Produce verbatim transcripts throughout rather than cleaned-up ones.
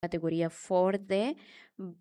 kategoria forte,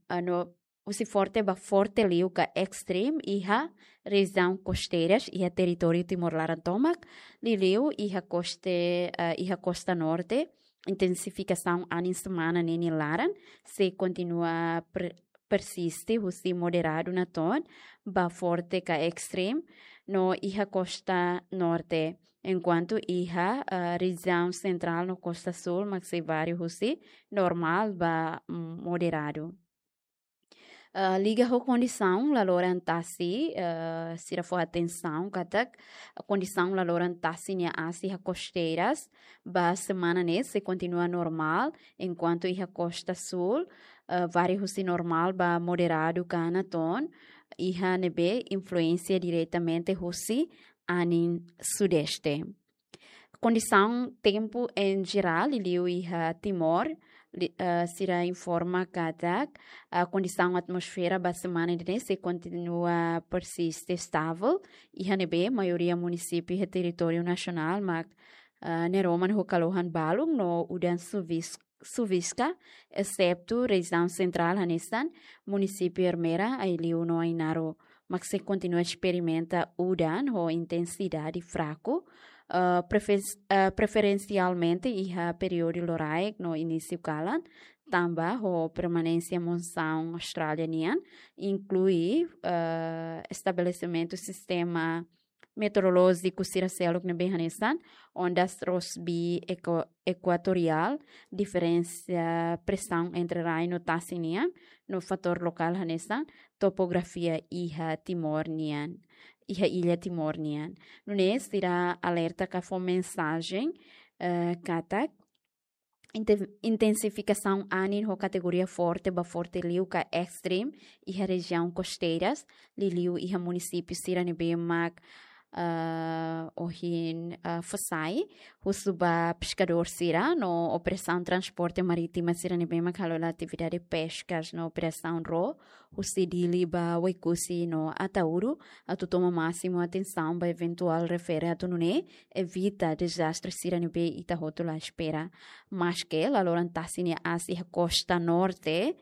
ah, no husi forte ba forte liu ka extreme iha rejiaun kosteiras iha territóriu Timor laran tomak, liuliu iha koste, ah, iha kosta norte, intensifikasaun anin semana ne'e nia laran sei kontinua per-, persiste husi moderadu natoon ba forte ka extreme no iha kosta norte, enkuantu iha, ah, rejiaun sentrál no kosta súl mak sei varia husi normál ba, mm, moderadu. Ah, liga ho kondisaun laloran tasi, ah, sira fó atensaun katak kondisaun laloran tasi nia aas iha kosteiras ba semana ne'e sei kontinua normál, enkuantu iha kosta súl, ah, varia husi normál ba moderadu ka natoon, iha ne'ebé influénsia diretamente husi anin sudeste. Kondisaun tempu en jerál, liuliu iha Timor, li-, ah, sira informa katak, ah, kondisaun atmosfera ba semana ida-ne'e sei kontinua persiste estável, iha ne'ebé maioria munisípiu iha territóriu nasionál mak, ah, neroman ho kalohan balun no udan suvis-, suviska, exetu rejiaun sentrál hanesan munisípiu Ermera, Aileu no Ainaro, mak sei kontinua esperimenta udan ho intensidade fraku, ah, prefe-, ah, preferensialmente iha períodu loraik no inísiu kalan, tanba ho permanénsia monsaun Austrália nian, inklui, ah, estabelesimentu sistema meteorolójiku sira seluk ne'ebé hanesan ondas Rossby equa-, equatorial, diferensa presaun entre rai no tasi nian, no fatór lokál hanesan topografia iha Timor nian, iha illa Timor nian. Nune'e sira alerta ka fó mensajen, eh, katak inten-, intensifikasaun anin ho kategoria forte ba forte liu ka extreme iha rejiaun kosteiras, liuliu iha munisípiu sira ne'ebé mak, ah, ohin, ah, fó sai husu ba peskadór sira no operasaun transporte marítima sira ne'ebé mak halo hela atividade peskas no operasaun ró husi Dili ba Oekusi no Ataúru, atu toma másimu atensaun ba eventuál refere atu nune'e evita dezastre sira ne'ebé ita hotu la espera. Maske laloran tasi nia aas iha kosta norte,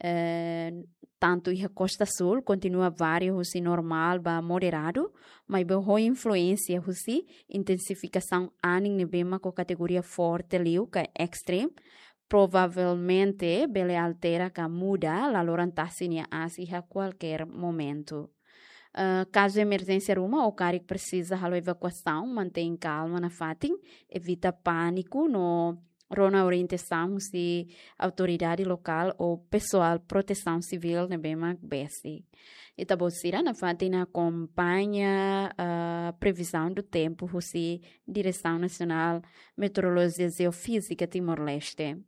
eh, tantu iha kosta súl, kontinua varia husi normál ba moderadu, maibé ho influénsia husi intensifikasaun anin ne'ebé mak ho kategoria forte liu ka extreme, provavelmente bele altera ka muda laloran tasi nia aas iha kualkér momentu. Eh, kazu emerjénsia ruma ou karik presiza halo evakuasaun, mantein kalma nafatin, evita pániku no rona orientasaun husi autoridade lokál ou pesoál protesaun sivíl ne'ebé mak besik. Ita-boot sira nafatin akompaña, ah, previzaun do tempu husi Diresaun Nasionál Meteorolojia Jeofízika Timor-Leste.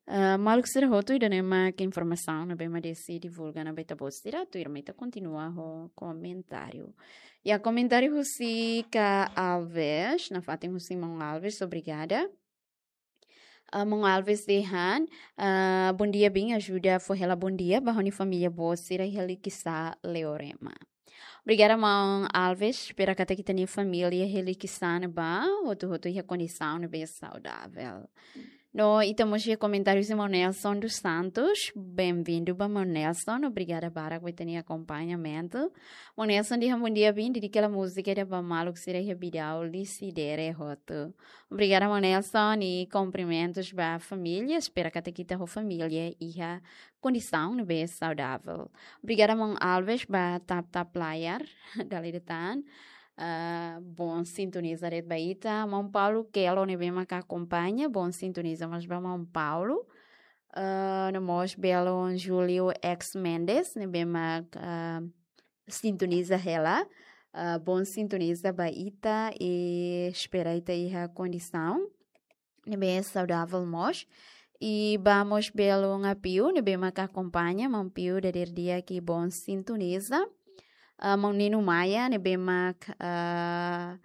Ah, maluk sira hotu, ida-ne'e mak informasaun ne'ebé mak desi divulga ona ba ita-boot sira, tuirmai ita kontinua ho komentáriu. Iha komentáriu husi Ka Alves, nafatin husi maun Alves, obrigada. Ah, maun Alves dehan, ah, bondia, bin ajuda fó hela bondia ba ha'u-nia família boot sira iha Likisá, Leorema. Obrigada, maun Alves. Espera katak ita-nia família iha Likisá ne'ebá hotu-hotu iha kondisaun ne'ebé saudável. No ita mós iha komentáriu husi maun Nelson dos Santos. Bem-vindo ba maun Nelson. Obrigada barak ba ita-nia akompañamentu. Maun Nelson dehan bondia, bin dedika hela múzika ida ba maluk sira iha Bidau, Lisidere hotu. Obrigada, maun Nelson, i kumprimentus ba família. Espera katak ita ho família iha kondisaun ne'ebé saudável. Obrigada, maun Alves, ba tap-tap layar, dala ida tan. Ah, bom sintoniza de'it ba ita. Maun Paulo Kelo ne'ebé mak akompaña, bom sintoniza mós ba maun Paulo. Ah, no mós belun Júlio X Mendes, ne'ebé mak, ah, sintoniza hela. Ah, bom sintoniza ba ita i espera ita iha kondisaun ne'ebé saudável mós. I ba mós belun Apiu, ne'ebé mak akompaña, maun Piu dadeer di'ak i bom sintoniza. Ah, maun Nino Maia, ne'ebé mak, ah,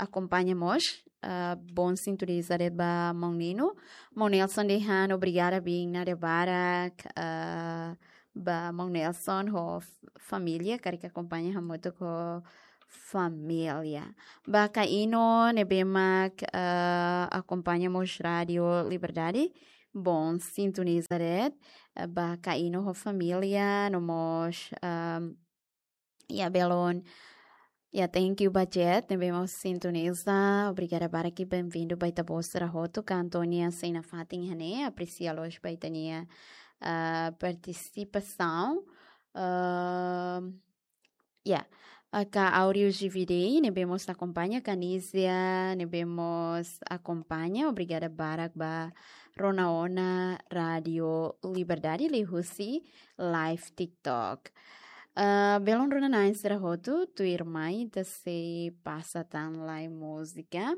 akompaña mós, ah, bom sintoniza de'it ba maun Nino. Maun Nelson dehan obrigada, bin nafatin barak, ah, ba maun Nelson ho f-, família, karik akompaña hamutuk ho família. Ba Kaino ne'ebé mak, ah, akompaña mós Rádio Liberdade. Bom, sintoniza de'it, eh, ba Kaino ho família, no mós, ahm, ya, belun. Ya, thank you ba Jet, ne'ebé mós sintoniza. Obrigada barak, benvindu ba ita-boot sira hotu, ka Antonia sei nafatin iha ne'e, apresia loos ba ita-nia, ah, partisipasaun. Ahm, Ya, ah, ka áudio G V D, ne'ebé mós akompaña, Kanizia, ne'ebé mós akompaña, obrigada barak ba rona ona Rádio Liberdade liuhusi live TikTok. Ah, belun rona-na'in sira hotu, tuirmai ita sei pasa tan lai múzika.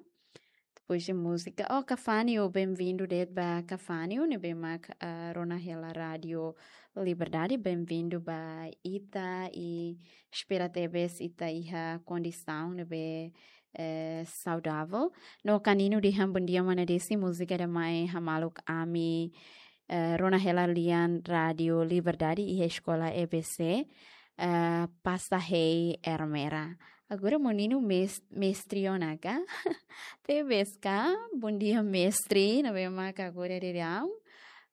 Depois de múzika, oh, Kafanio, benvindu de'it ba Kafanio, ne'ebé mak, ah, rona hela Rádio Liberdade, benvindu ba ita i espera tebes ita iha kondisaun ne'ebé, eh, saudavel. No Kanino dehan bom dia, mana Desi, múzika ida mai hamaluk ami, eh, rona hela lian Rádio Liberdade iha eskola E B C, eh, Pasta Hei Ermera. Agora meninu mes-, mestre ona ka? Tebes ka? Bom dia, mestre. Ne'ebé mak agora daudaun,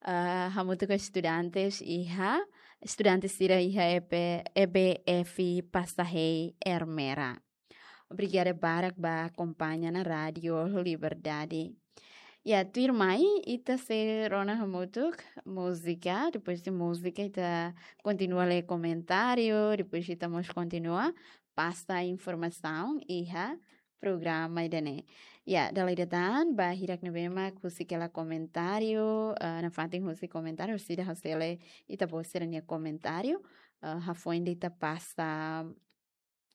ah, hamutuk ho estudantes iha, estudante sira iha E B, E B F Pasta Hei Ermera. Obrigada barak ba akompaña ona Rádio Liberdade. Ya, tuirmai, ita sei rona hamutuk múzika, depois de múzika, ita kontinua lee komentáriu, depois ita mós kontinua pasa informasaun iha programa ida-ne'e. Ya, dala ida tan, ba hirak ne'ebé mak husik hela komentáriu, eh, nafatin husik komentáriu, sira husik hela ita-boot sira-nia komentáriu, eh, hafoin ita pasa,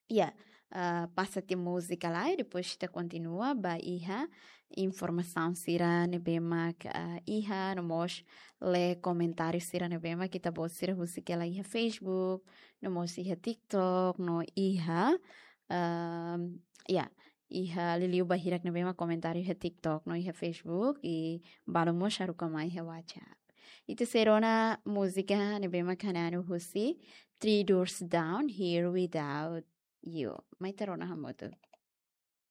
ya, eh, pasa tiha múzika lai, depois ita kontinua ba iha informasaun sira ne'ebé mak, eh, iha, no mós lee komentáriu sira ne'ebé mak ita-boot sira husik hela iha Facebook, no mós iha TikTok, no iha, ehm, ya, iha liuliu ba hirak ne'ebé mak komentáriu iha TikTok, no iha Facebook, i balu mós haruka mai iha WhatsApp. Ita sei rona múzika ne'ebé mak hananu husi Three Doors Down, Here Without You. Mai ita rona hamutuk.